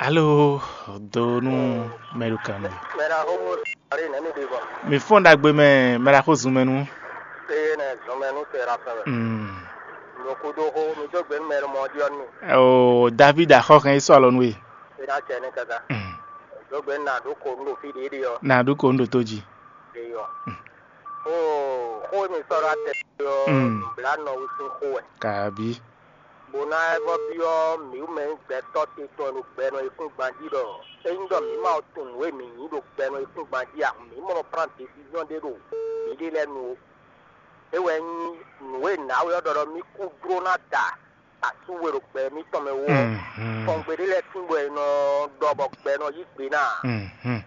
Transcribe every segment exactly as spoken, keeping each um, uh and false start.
Alo, do nú mɛɖukannu. Mɛɖaxó Mose Marie nɛ̌ mi ɖi gbɔn? Mi fɔ́n ɖagbe mɛ, mɛɖaxó zun mɛ nú. Eye nɛ zɔnmɛ nú se ɖa fɛn mɛ. Mm. Lo kúdó xó, mi dó gbe nú mɛ e mɔ ɔ́ ɖiɔ nú mi. O David axɔ́ hɛn yi sɔ́ alɔ nú we. É ná cɛ ní káká. Mm. Dó gbe nú nǎ ɖó ko nú ɖo fí ɖě ɖe ɔ́. Nǎ ɖó ko nú ɖo tó jí. Ɖe ɔ́. Mm. Xó xó e mi sɔ́ ɖó atɛ ɔ́, Mm. nǔblanɔ wú sín xó wɛ. Kabi. Bó ná ɛ vɔ byɔ́ mǐ mɛ nyí gbɛtɔ́ titun e ɖo gbɛ nɔ yíkúngban jí ɖɔ ényí ɖɔ mǐ ma tunwun nǔ e mǐ nyí ɖo gbɛ nɔ yíkúngban jí a, mǐ mɔ nɔ prán desizɔ́n ɖé ɖo mǐɖée lɛ́ɛ nu ó. É wɛ nyí nǔ e nǎwe ɔ́ ɖɔ ɖɔ mì kú jló ná da asú we ɖo gbɛ mǐtɔn mɛ wú ɔ́, Mhm. fɔngbe ɖé lɛ́ɛ tín bɔ è nɔ ɖɔ bɔ gbɛ nɔ yí gbe ná ǎ. Mhm.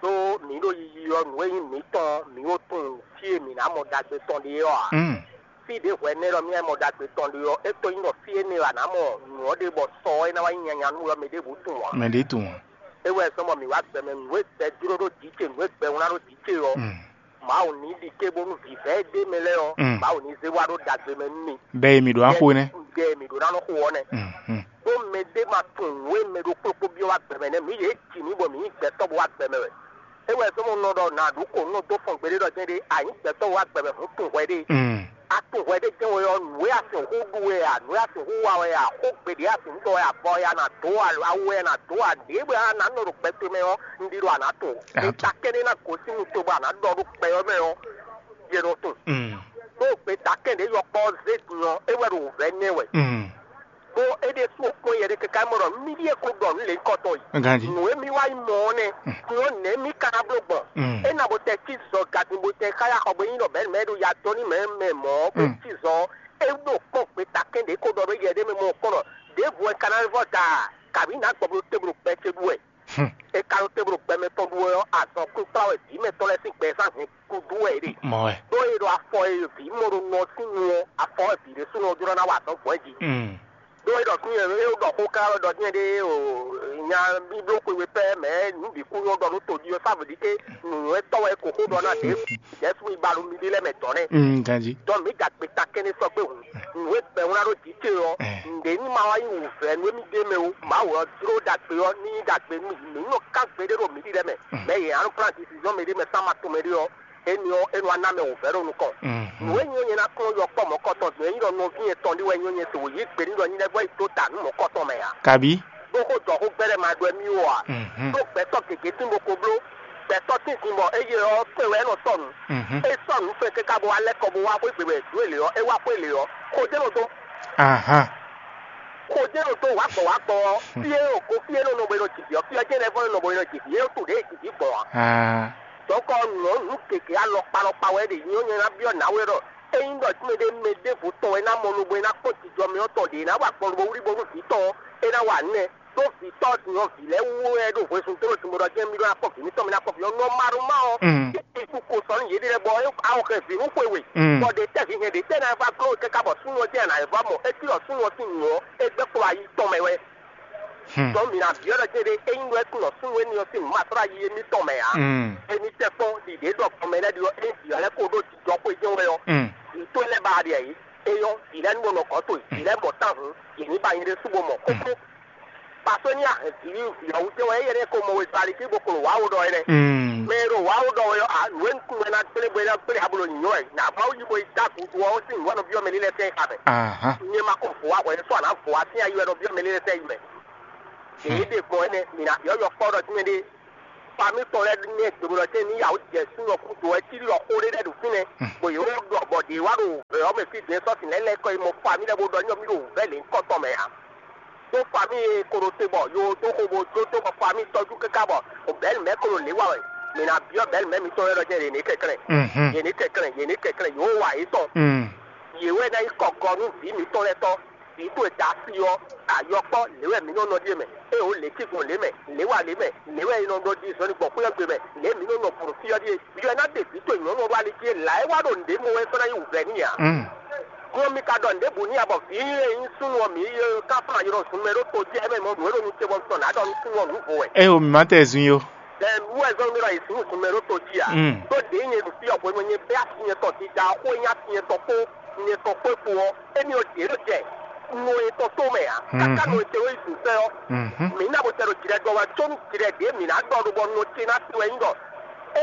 Đó mǐ ɖo yiyi ɔ́, nǔ e nyí mǐtɔn ɔ́, mǐ ko tunwun fí e mǐ ná mɔ ɖagbe tɔn ɖe ɔ́ ǎ. Mm. Fí ɖě hwɛ nɛ́ ɖɔ mì wá mɔ ɖagbe tɔn ɖe ɔ́, é ko nyí ɖɔ fí énɛ́ wɛ a nǎ mɔ nǔ ɔ́ ɖe bɔ sɔ ɔ́ é ná wá nyí nyanya nú we ɔ́, mɛ ɖěbǔ tunwun ǎ. Mɛ ɖě tunwun ǎ. É wɛ zɔ́n bɔ mǐ wá gbɛ mɛ nǔ e gbɛ jló ɖó jǐ ce, nǔ e gbɛ wlán ɖó jǐ ce ɔ́, Mm. Mawu ní ɖi cébónú vǐvɛ́ e ɖ'é mɛ lɛ́ɛ ɔ́, Mm. Mawu ní zé wá ɖó ɖagbe mɛ nú mi. Ɖɛ e mǐ ɖó ná xo é nɛ́. Ɖɛ e mǐ ɖó ná nɔ xo ɔ́ nɛ́. Mhm. Ɖó mɛ ɖé ma tunwun nǔ e mɛ ɖokpó ɖokpó byɔ́ wá gbɛ mɛ nɛ́, mǐ yě ji mǐ bɔ mǐ nyí gbɛtɔ́ bó wá gbɛ mɛ wɛ. É wɛ zɔ́n bɔ un nɔ ɖɔ nǎ ɖu kǒ nɔ dó fɔn gbeɖé ɖɔ jɛ́n ɖé, a nyǐ gbɛtɔ́ wá gbɛ mɛ hǔn tunwun hwɛ ɖé. Mm. A tunwun hwɛ ɖé jɛ́n wɛ ɔ́, nǔ e a sixú ɖu wɛ a, nǔ e a sixú wa wɛ a, xó gbeɖé a sixú ɖɔ wɛ a, vɔ wɛ a nǎ dó a, awu wɛ a nǎ dó a, ɖěbǔ a nǎ nɔ ɖo gbɛ towe mɛ ɔ́, un ɖi ɖɔ a nǎ tunwun. A tunwun. Gbeta kɛ́ɖɛ́ ná gosín nu towe bɔ a nǎ ɖɔ ɖó gbɛ ɔ́ mɛ ɔ́, yě nɔ tunwun. Mm. Ɖó gbeta kɛ́ɖɛ́ yɔkpɔ́ ɔ́ zé din ɔ́, é wɛ ɖo wǔvɛ́ nɛ́ wɛ. Mm. Bó é ɖésú ɔ́ kpɔ́n yɛ ɖé káká mɔ ɖɔ mì ɖíe ko ɖɔ nǔ lěhunkɔtɔn yi. Ganjí. Nǔ e mì wá yi mɔ ɔ́ nɛ́, Mm. din ɔ́ nɛ̌ mì ka ná bló gbɔn? Mm. É ná bó tɛ cí zɔ gadin bó tɛ xáyá xɔ bó nyí ɖɔ bɛ̌ mɛ ɖo ya dɔn ní mɛ mɛ mɔ̌ bó Mm. cí zɔ ɔ́, é ɖo kpɔ́n gbeta kɛ́n ɖě ko ɖɔ ɖó yɛ ɖé mɛ mɔ kpɔ́n ɖɔ ɖěvo wɛ ka ná vɔ́ da a? Kabǐ nǎ gbɔ bló téblo gbɛ ce ɖu wɛ? Hmm. È ka ɖo te bló gbɛmɛ tɔn ɖu wɛ ɔ́, azɔn kpínkplá wɛ vǐ mɛtɔn lɛ́ɛ sín gbɛzán hɛn kúdú wɛ é ɖe. Mɔ wɛ. Ɖó è ɖo afɔ e vǐ mɔ ɖo nɔ sín nu ɔ́, afɔ wɛ vǐ ɖésúnɔ ɔ́ jló ná wa azɔn gbɔn jí. Mm. Ɖó é ɖɔ fí é ɖɔ xó ká wɛ ɖɔ dín ɖé o, nya bíbló xwe we pɛ́ mɛ nǔ bǐ kú nyɔ́ ɖɔ nú todí ɔ́, sá vǐ ɖi ké nǔnywɛ́tɔ́ wɛ kò xó ɖɔ ná ɖě Jɛ́sú yi ba ɖo mi ɖé lɛ́ɛ mɛ dɔ̌n nɛ́. Mm, ganjí. Dɔn mǐ gagbe ta kɛ́nɛ sɔ́ gbé hǔn. Nǔ e gbɛ́ wlán ɖó jǐ ce ɔ́, Eh. Nǔɖé ní ma wá nyí wǔvɛ́ nú émí ɖ'é mɛ ó. Mawu ɔ́ jló ɖagbe ɔ́ ní nyí ɖagbe nú mǐ. Mǐ nɔ kán gbeɖé ɖo mǐ ɖi lɛ́ɛ mɛ. Mm. Mɛ e ǎ nɔ kplán disizɔn mɛɖé mɛ sán ma tɔn mɛɖé ɔ́, énɛ́ ɔ́, é nɔ wá ná mɛ wǔvɛ́ ɖo nukɔn. Mhm. Nǔ e nyí ɔ́ nyɛ ná kplɔ́n yɔkpɔ́ mɔ̌kɔtɔn din e nyí ɖɔ nɔví etɔn ɖé wɛ nyí ɔ́, nyɛ se wǒ yí gbe n'i ɖɔ nyí lɛ́ vɔ́ yi dó ta nǔ mɔ̌kɔtɔn mɛ ǎ. Kabí? Bó xó jɔ xó gbɛ́ lɛ́ɛ ma ɖɔ émí ó ǎ. Mhm. Ɖó gbɛtɔ́ gěgé tín bó ko bló, gbɛtɔ́ tínzin bɔ éyé ɔ́ fɛn wɛ é nɔ sɔ́ nǔ. Mhm. É sɔ́ nǔ fɛn káká bó wá lɛ́ kɔ bó wá xwé gbe wɛ dǔ e lě ɔ́, é wá xwé lě ɔ́, xó jɛ́n nɔ dó. Ahan. Xó jɛ́n nɔ dó wǎ gbɔ wǎ gbɔ ɔ́, fí e ɖo go fí e nɔ nɔ bo e nɔ jivǐ ɔ́, fí ɔ́ jɛ́n lɛ́ vɔ́ nɔ nɔ bo e nɔ jivǐ, é ɖo to ɖě e jivǐ gbɔn ǎ. Ah. Dɔ̌nkɔ nǔ ɔ́, nǔ gěgé alɔkpa alɔkpa wɛ ɖe nyí ɔ́, nyɛ ná byɔ́ nǎwe ɖɔ ényí ɖɔ mɛɖé mɛ ɖěvo tɔn wɛ ná mɔ lobo e ná kpɔ́n jijɔ mɛ ɔ́ tɔn ɖě ná wa gbɔn lobo wlí bónú vǐ tɔn ɔ́, é ná wa nǔ nɛ́. Ɖó vǐ tɔ́ din ɔ́, vǐ lɛ́ɛ wú wɛ ɖo hwezun dó ɖo din bó ɖɔ jɛ́n mì ɖó ná kpɔ́n vǐ mǐtɔn, mì ná kpɔ́n vǐ ɔ́ nɔ́ ma ɖó má ɔ́. Mm. É kú ko sɔ́ nú yěɖée lɛ́ɛ bɔ é awɔ hɛn vǐ nú xwe we. Mm. Bɔ ɖě tɛ́ vǐ hɛn ɖě tɛ́ ná vá gló kɛ́ ká bɔ súnnu ɔ́ jɛ́n ná vá mɔ é cí ɖɔ súnnu ɔ́ sín nǔ ɔ́, é gbɛ́ kplɔ́n ayi tɔn mɛ wɛ. Hmm. Dɔn mǐ ná byɔ́ ɖɔ céɖé, ényí ɖɔ é tunwun ɖɔ súnnu énɛ́ ɔ́ sín nǔ ma sɔ́ ɖo ayi émítɔn mɛ ǎ. Mm. Émí tɛ́ kpɔ́n ɖiɖě ɖɔ gbɔn mɛ lɛ́ɛ ɖi ɔ́, ényí vǐ ɔ́ lɛ́ ko ɖó jijɔ xwé jɛ́n wɛ ɔ́, Mm. vǐ tó lɛ́ɛ ba ɖi ayǐ. É nyɔ́, vǐ lɛ́ɛ ní bo nɔ gɔ̌ towe, vǐ lɛ́ɛ mɔ tán hǔn, yě ní ba nyɛ ɖésú bo mɔ kókó. Pasó ní a hɛn vǐ vǐ ɔ́ wú jɛ́n wɛ, éyɛ́ ɖɛ́ ko mɔ wezun ali cí bo klo wǎ wo ɖɔ é nɛ́. Mm. Mɛ e ɖo wǎ wo ɖɔ wɛ ɔ́, ǎ, nǔ e un tunwun wɛ ná gblé bo é ná gblé ǎ bo ɖo nyǐnyɔ́ wɛ, nǎ Mawu yí bo yi dó agun dó ɔ́, ó sín nǔ wɛ nɔ byɔ́ mɛ ní lɛ́ sɛ́ yi xa mɛ. Ahan. Nyɛ ma ko vǒ wá hwɛ sɔ́ ǎ ná vǒ wá sín ayi wɛ nɔ byɔ́ mɛ ní lɛ́ sɛ́ yi mɛ. Yě ɖe gbɔn énɛ́, mǐ ná byɔ́ yɔkpɔ́ ɖɔ tínmɛ ɖé. Famí tɔn lɛ́ɛ nɛ́ gbeɖolɔ tɛ́ ní yǎ wǒ jɛ súnnu ɔ́ kúdo wɛ cí ɖɔ xó ɖé lɛ́ɛ ɖo fínɛ́, bɔ yě wó ɖɔ bɔ ɖě wá ɖo vɛ̌ ɔ́ mɛ fí dɛ̌n sɔ́ sin lɛ́ɛ lɛ́ kɔ yi mɔ famí lɛ́ɛ bó ɖɔ ní ɔ́ mì ɖo wǔvɛ́ lě kɔ́tɔn mɛ ǎ. Tó famí e ko ɖo te bɔ yo dó xo bó jó tó bɔ famí tɔjú káká bɔ bɛ̌lu mɛ̌ ko ɖo lě wa wɛ. Mǐ ná byɔ́ bɛ̌lu mɛ̌ mitɔn lɛ́ɛ ɖɔ jɛ́n yě ní kɛnklɛ́n. Mhm. Yě ní kɛnklɛ́n, yě ní kɛnklɛ́n, yě wó wa yětɔn. Mm. Yě wɛ ná nyí kɔgɔ nú vǐ mǐtɔn lɛ́ɛ tɔn. Vǐ towe da asi ɔ́, ayɔkpɔ́ lě wɛ mǐ nɔ nɔ ɖíe mɛ. É o lě cí gbɔn lě mɛ, lě wa lě mɛ, lě wɛ è nɔ ɖɔ ɖi zɔnlin gbɔn xwé ɔ́ gbe mɛ, lě mǐ nɔ nɔ bǔ fí ɔ́ ɖíe. Vǐ ɔ́ ná ɖe vǐ towe nyɔ̌nu ɔ́ ɖó ali cí e lǎ é wá ɖo nǔɖé mɔ wɛ sɔ́ ná nyí wǔvɛ́ n'i ǎ. Mm. Nú ɔ́, mi ka ɖɔ nǔɖé bǔ n'i ǎ bɔ vǐ e nyí súnnu ɔ́ mǐ yi ká fún ayɔ́ ɖɔ zun mɛ ɖó to jí ɛ mɛ mɔ nǔ e ɖo nu ce bɔ un tɔn nǎ ɖɔ nú súnnu ɔ́ nǔ vo wɛ. É o, mǐ má tɛ zun yó. Bɛ́ wú wɛ zɔ́n mì ɖɔ è sǐ nǔ mɛ ɖó to jí ǎ. Mm. Ɖó ɖě nyɛ ɖo fí ɔ́ hwenu e nyɛ bɛ́ asi nyɛtɔn dida ɔ́ xó e nyí asi nyɛtɔn kpó nyɛtɔn kpó kpo ɔ́, émí ɔ́ ɖě ɖo jɛ. nɔ etɔn tó mɛ ǎ. Káká nɔ etɔn yi dun sɛ́ ɔ́, mǐ ná bo tɛ ɖo jǐɖɛdɔn wɛ có nú jǐɖɛ ɖě mǐ ná ɖɔ ɖo bɔ nɔ ce ná se wɛ nyí ɖɔ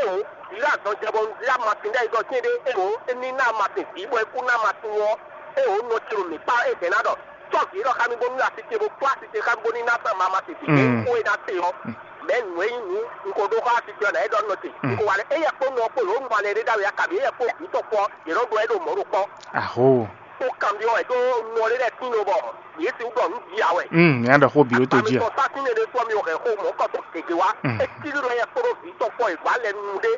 éwo vǐ azɔn jɛ bɔ un zlá masin ɖɛ yi ɖɔ cɛ́n ɖé éwo é ní ná masin vǐ bɔ é kú ná masin ɔ́, éwo nɔ ce ɖo mǐ kpá é hɛn ná ɖɔ sɔ́ vǐ élɔ́ xá mì bónú asi ce bó kplá asi ce xá mì bónú ná zán ma masin vǐ ɖé xó é ná se ɔ́. Mɛ̌ nǔ e nyí nǔ un ko ɖó xá asi ce ɔ́ nǎ é ɖɔ nɔ ce un ko wa lɛ éyɛ́ kpó nɔ kpó yǒ nu alɛ ɖé ɖ'awǐ akabi éyɛ́ kpó vǐ tɔn kpó ɔ́, yě nɔ ɖɔ é ɖo mɔ̌ ɖo kpɔ́. Aho. Ó kanbyɔ́ wɛ ɖó nɔ ɖé lɛ́ɛ tín lobɔ yě sixú ɖɔ nǔ jí ǎ wɛ. Mm, nya ɖɔ xó bǐ ó to jí a. Amitɔ sásín ɖé sɔ́ mi hɛn xó mɔ̌ kɔtɔ gěgé wá. Mm. É cí ɖɔ yɛ kpóɖó vǐ tɔn kpɔ́ è gbǎ lɛ nu ɖé.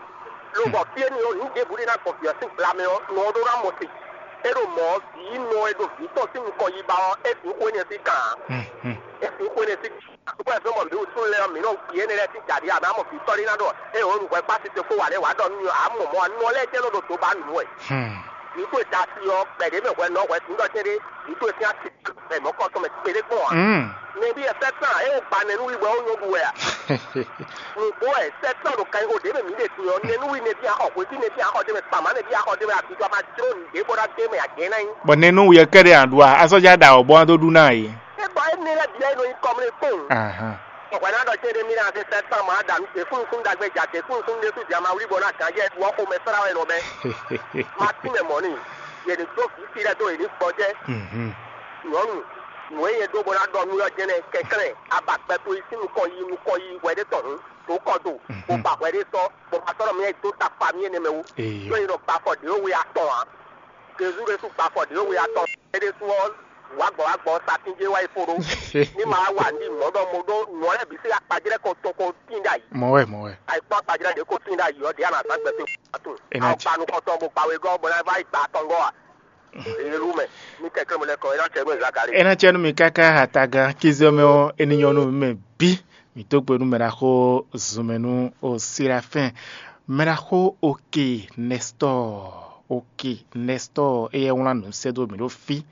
Lobɔ fí énɛ́ ɔ́, nǔ ɖěbǔ ɖé ná gbɔn vǐ ɔ́ sín gbla mɛ ɔ́, nɔ ɔ́ ɖó ná mɔ te. É ɖo mɔ̌ ɔ́, vǐ nɔ e ɖo vǐ tɔn sín nukɔn yi ba ɔ́, é sixú xó énɛ́ sín kan ǎ. Mm, mm. É sixú xó énɛ́ sín kan. Àkókò ɛ́ fɛ́ mɔ mǐ wútu lɛ́ɛ ɔ́, mǐ nɔ yi énɛ́ lɛ́ɛ sín jǎɖí ǎ, mɛ amɔ vǐ tɔ́ ɖé ná ɖɔ, ée wǒ nu hwɛ kpá tito kpó wǎ lɛ́ɛ wǎ ɖɔ nú mì ɔ́, ǎ mɔ mɔ̌ ɔ́, nɔ lɛ́ɛ jɛ́n nɔ ɖo dǒ ba nǔ wɛ. Hmm. Vǐ towe da asi ɔ́, kpɛɖé mɛ hwɛ nɔ hwɛ tǐndɔ cɛ́n ɖé, vǐ towe sín asi bɛ mɔ̌ kɔ tɔn mɛ kpéɖé kpɔ́n ǎ. Mm. Nɛbí ɛ sɛ́tán ée wó gba nɛnúwi bɔ é wó nyɔ́ ɖu wɛ a? Nǔgbó wɛ sɛ́tán ɖo kanxixo ɖě mɛ mǐ ɖe din ɔ́, nɛnúwi nɛbí axɔ hwetí nɛbí axɔ ɖé mɛ kpamá nɛbí axɔ ɖé mɛ abijɔ ma jló nǔɖé bó ná dé mɛ agě ná nyí. Bɔ nɛnúwi ɛ kɛ́ɖɛ́ ǎ ɖu a? Azɔ́ já ɖa awɔ bɔ ɔ́ dó ɖu ná yě. É bɔ énɛ́ lɛ́ɛ bǐ wɛ nɔ nyí kɔmlé kpowun. Ahan. Bɔ hwɛ ná ɖɔ cɛ́ ɖé mì ná se sɛ́tán ma ɖa nǔ ɖě súnnu súnnu ɖagbe ja ɖě súnnu súnnu ɖésú jǎ ma wlí bɔ ná gǎn jɛ ɖu ɔ́ xomɛ srá wɛ nɔ bɛ́. Ma tín mɛ mɔ̌ n'i, yě ní dó vǐ sí lɛ́ɛ dó yě ní gbɔjɛ́. Mhm. Nyɔ̌nu, nǔ e nyɛ ɖó bó ná ɖɔ nú yɔ́ jɛ́n nɛ́ kɛnklɛ́n, a ba gbɛ towe sín nukɔn yi nukɔn yi hwɛ ɖé tɔn hǔn, ɖǒ kɔ do, bó ba hwɛ ɖé sɔ́, bó ba sɔ́ ɖɔ mì wɛ dó ta fa mì énɛ́ mɛ wú. Eyɔ. Ɖó è nɔ gba afɔ ɖě we atɔn ǎ. Jezu ɖésú gba afɔ ɖě we atɔn. É ɖésú ɔ́, wǎ gbɔ wá gbɔ satín jé wá yi fó ɖó. Ní ma wá wa ní mɔ̌ ɖɔ mo ɖó nǔ ɔ́ lɛ́ɛ bǐ sín akpajlɛ́ ko tɔn ko tín ɖ'ayǐ. Mɔ̌ wɛ, mɔ̌ wɛ. Ayǐkpɔ́n akpajlɛ́ ɖě ko tín ɖ'ayǐ ɔ́, ɖě a nǎ zán gbɛtɔ́ atún. È nǎ Awo gba nukɔntɔn bó gba wegɔ́ bó ná vá yi gba atɔngɔ́ a? Elu mɛ, ní kɛkɛ́ mo lɛ́ kɔ é ná cɛ gbɛ́ Zakalée. É ná cɛ nú mi káká atagán kízɔ́ mɛ ɔ́, é ní nyɔ́ nú mi mɛ bǐ. Mǐ dó gbe nú mɛɖaxó zunmɛ nú Silafɛ́n. Mɛɖaxó Oke Nɛstɔ́ɔ, Oke Nɛstɔ́ɔ, éyɛ́ wlán nǔ sɛ́ dó mǐ ɖo fí.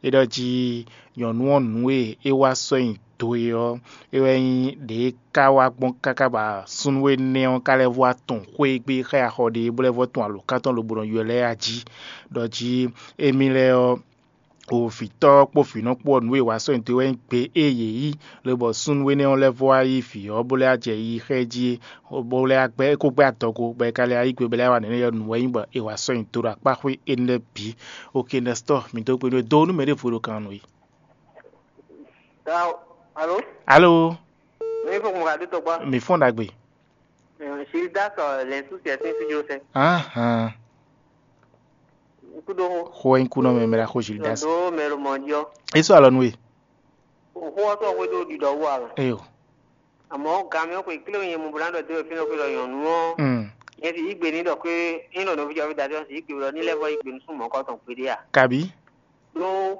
É ɖɔ jí nyɔ̌nu ɔ́ nǔ e é wá sɔ́ nyi do é ɔ́, é wɛ nyí ɖě é ka wá gbɔn káká bɔ súnnu énɛ́ ɔ́ ka lɛ́ vɔ́ wá tɔn xwé e gbé xá ya xɔ ɖe é bó lɛ́ vɔ́ tɔn alǒkan tɔn lobo nɔ ylɔ́ ɛ a jí. Ɖɔ jí émí lɛ́ɛ ɔ́, o vǐtɔ́ kpó vǐnɔ kpó ɔ́, nǔ e è wǎ sɔ́ nyi do wɛ nyí gbe e yě yí, lobɔ súnnu énɛ́ ɔ́ lɛ́ vɔ́ wá yí vǐ ɔ́, bó lɛ́ wá jɛ yiyi xá ɛ jí, bó lɛ́ wá gbɛ́ é kó gbɛ́ adɔgo, bɔ é ka lɛ́ wá yí gbe bɔ é lɛ́ wá nɛ̌ yɔ nǔ wɛ nyí bɔ è wǎ sɔ́ nyi do ɖo akpá xwé énɛ́ lɛ́ɛ bǐ. Oke Nɛstɔ́ɔ, mǐ dó gbe nú we, do nú mɛ ɖěvo ɖo kan nú we. Alo? Alo? Mi fo mo ka do tɔgba. Mi fɔn ɖagbe. Gildas lɛn su sɛ sin fi jo sɛ. Ahan. Kudo ho. Xo en kunɔ mɛ mɛ la xo Gildas. Do mɛ lo mɔ diɔ. Eso alɔ nu e. O xo ɔtɔ xwe do di dɔ wo a. Eyo. Àmọ́ gàmí ọkùnrin kíló yẹn mo bla dɔ dé òfin lọ́kùnrin lọ yàn nú ọ́. Mm. Yẹn ti yí gbé ní dɔ pé ń lọ nọ́bí jọ fi dàdé ọ̀sìn yí gbé lọ nílẹ̀ fọ́ yí gbé ní súnmọ́ kọ́tàn péré à. Kabi. Ɖó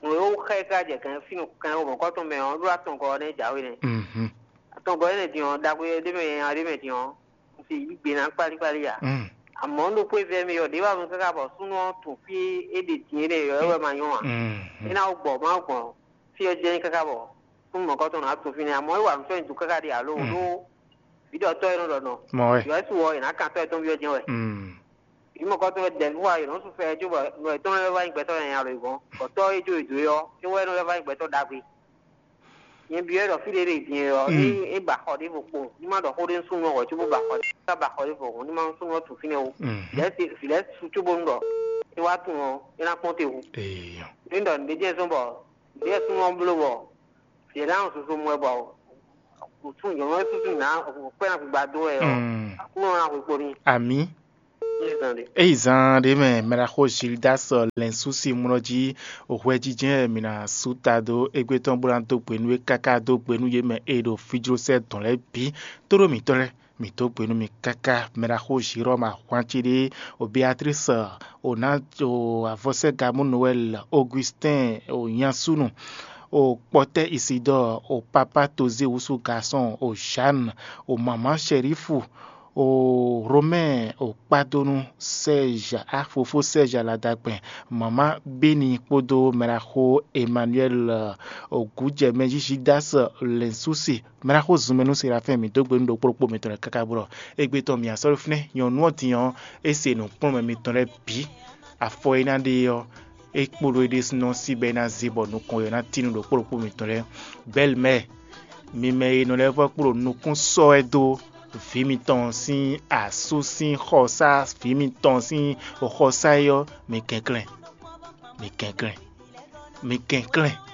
ŋlɔ́ xá yi ká jɛ kɛn fínú kɛn o mɔ̌kɔ́tɔn mɛ ɔ́ ɖó atɔngɔ ɔ́ nɛ́ jǎwe nɛ́. Mhm. Atɔngɔ énɛ́ din ɔ́, ɖagbe ɖé mɛ nya ɖé mɛ din ɔ́, un se yí gbe ná kpálíkpálí ǎ. Mm. Àmọ́ un ɖo xwé vɛ́ mì ɔ́, ɖě wá mɔ káká bɔ súnnu ɔ́ tun fí é ɖe din énɛ́ ɔ́, é wɛ ma nyɔ́ ǎ. Mhm. É ná wó gbɔ má gbɔn fí ɔ́ jɛ́n káká bɔ súnnu mɔ̌kɔ́tɔn ná tun fínɛ́. Àmọ́ é wa nǔ sɔ́ nyi dǔ káká ɖe alo ɖó vǐɖɔtɔ́ e nɔ ɖɔ nɔ. Mɔ wɛ. Yɔ̌su ɔ́, è nǎ kan sɔ́ yɛtɔ́ví ɔ́ jɛ́n wɛ. Mm. Vǐ mɔ̌kɔ́tɔn wɛ dɛ̌n fún wa è nɔ́ sú fɛ jó bɔ nɔ yětɔn lɛ́ɛ wá nyí gbɛtɔ́ nyanya lɔ̌yǐgɔ́n, bɔ tɔ́ e jó yě dó é ɔ́, é wɛ nɔ lɛ́ wá nyí gbɛtɔ́ ɖagbe. Nyɛ byɔ́ ɖɔ fí ɖé ɖe din ɔ́, é é ba xɔ ɖěvo kpo, ní má ɖɔ xó ɖé nú súnnu ɔ́ hwɛ̌ cóbó ba xɔ ɖě, ká ba xɔ ɖěvo hɔn, ní má nú súnnu ɔ́ tunwun fínɛ́ ó. Mhm. Lɛ̌ se vǐ lɛ́ɛ su cóbónú ɖɔ é wá tunwun ɔ́, é ná kpɔ́n te hu. Eeyɔ. Ní ɖɔ nǔɖé jɛ́n zɔ́n bɔ nǔɖé súnnu ɔ́ bló bɔ vǐ ɔ́ ná nɔ zozo mɔ ɛ bɔ kǔtú nyɔ̌nu ɔ́ súsú ná kpɛ́ ná gbigba dó wɛ ɔ́, Mm. Aklúnɔ ná hwe kpo n'i. Amǐ. Ní zan ɖé. Eyi zan ɖé mɛ mɛ ɖaxó Gildas lɛn súsi mlɔ jí hwɛjijɛ mǐ ná sú ta dó égbé tɔn bó ná dó gbe nú é káká dó gbe nú yě mɛ e ɖo fíjlósɛ dɔn lɛ́ɛ bǐ. Tóɖó mǐtɔn lɛ́ɛ, mǐ dó gbe nú mi káká. Mɛ ɖaxó Jérɔ́mu ahwan ce ɖé, o Beatrice, o ná o avɔsɛ́gamú Noɛl, Augustin, o nyasúnu, o kpɔtɛ́ Isidɔ́ɔ, o papá Tozé wusu Gasɔn, o Jeanne, o mamǎ Shɛrífu, o Romɛ́ɛ, o kpádónú Sɛ́ɛzha, á fofó Sɛ́ɛzha ladagbɛn, mamǎ Beni kpódó mɛɖaxó Emmanuel, o gǔjɛmɛjí Judas Lɛnsúsi, mɛɖaxó zunmɛ nú Serafɛ́n, mǐ dó gbe nú ɖokpó ɖokpó mitɔn lɛ́ɛ káká bó ɖɔ égbé tɔn mǐ asɔ́ ɖó fínɛ́, nyɔ̌nu ɔ́ din ɔ́, é se nǔkplɔ́nmɛ mitɔn lɛ́ɛ bǐ. Afɔ e ná ɖe ɔ́, É kpo ɖó é ɖésúnɔ sí bɔ é ná zé bɔ nukɔn ɔ́ ná tín nú ɖokpó ɖokpó mitɔn lɛ́ɛ. Bɛ́lmɛ, mi mɛ e nɔ lɛ́ vɔ́ kpo ɖo nukún sɔ́ wɛ dó vǐ mitɔn sín asú sín xɔsá, vǐ mitɔn sín xɔsá é ɔ́, mi kɛnklɛ́n, mi kɛnklɛ́n, mi kɛnklɛ́n.